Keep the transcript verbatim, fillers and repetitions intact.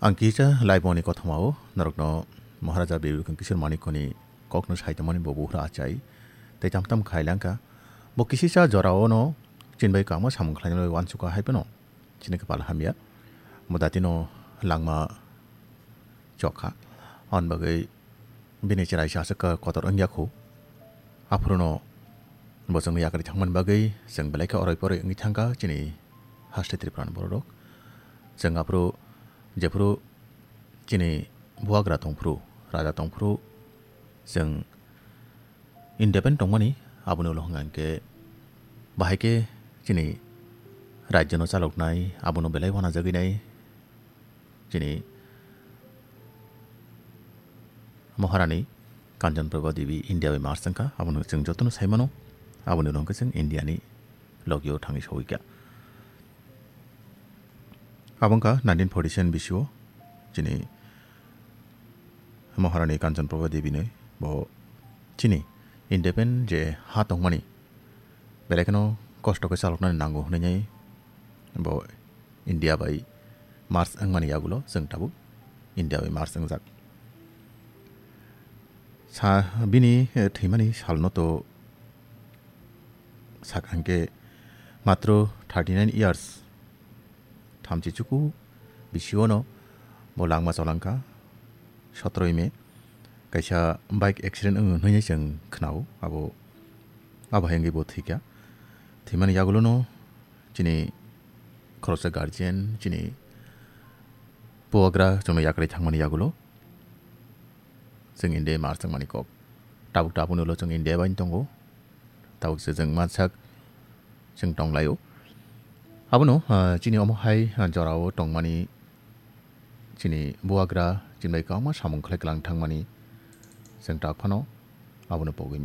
Ang kisa laiboni kothomao norokno Maharaja Bibikon Kishore Manikoni kokno saitongmani bo buhra achai tei tam tam khailangkha. Bo kisisa jorao no chini bai kamo samung khlainani bai uansukha hai phano chini kwpal hamya. Bo datino langma chokha. Aboni bagwi bini chwraisa aswk kotor wngya khu. Aphuru no bo chwngno yakarwi thangmani bagwi chwng belai khe oroi poroi wngwi thangkha chini haste Tripura ni borok rok. Chwng aphuru jephuru chini buagra tongphuru, raja tongphuru, chwng independent tongmani, aboni ulo hwnka hwnkhe bahai khe chini rajyono chaloknai, abono belai uanajagwi nai chini Maharani Kanchan Prabha Devi India bai Mars wngkha, abono chwng jotono saimano, aboni ulo hwnkhe chwng India ni logio thangwi sowikha. Abo wngkha nineteen forty-seven bisio chini Maharani Kanchan Prabha Devi ni bo chini independent je ha tongmani belai kheno kosto khe chaloknani nango hwnwi bo India bai Mars wngmani yagulo chwng tabuk India bai Mars wngjak. Sa bini, eh, thwimani salno to sakha hwnkhe matro thirty nine years, thamchi chuku bisiono bo langma cholangkha. Sotroi May kaisa bike accident wngwi hwnwi chwng khnao, abo, abo hai wngwi bo thwikha. Thwimani yagulono chini khoroksa guardian, chini puagra chwngno yakarwi thangmani yagulo chwng India Mars wngmani kok. Tabuk tabukni ulo chwng India bai tongo. Tabuk se chwng mansak chwng tonglaio. Abono, ah, chini omo hai, ah, jorao tongmani chini buagra chini bai kwbangma samung khlai kwlang thangmani chwng tak phano abono pogwi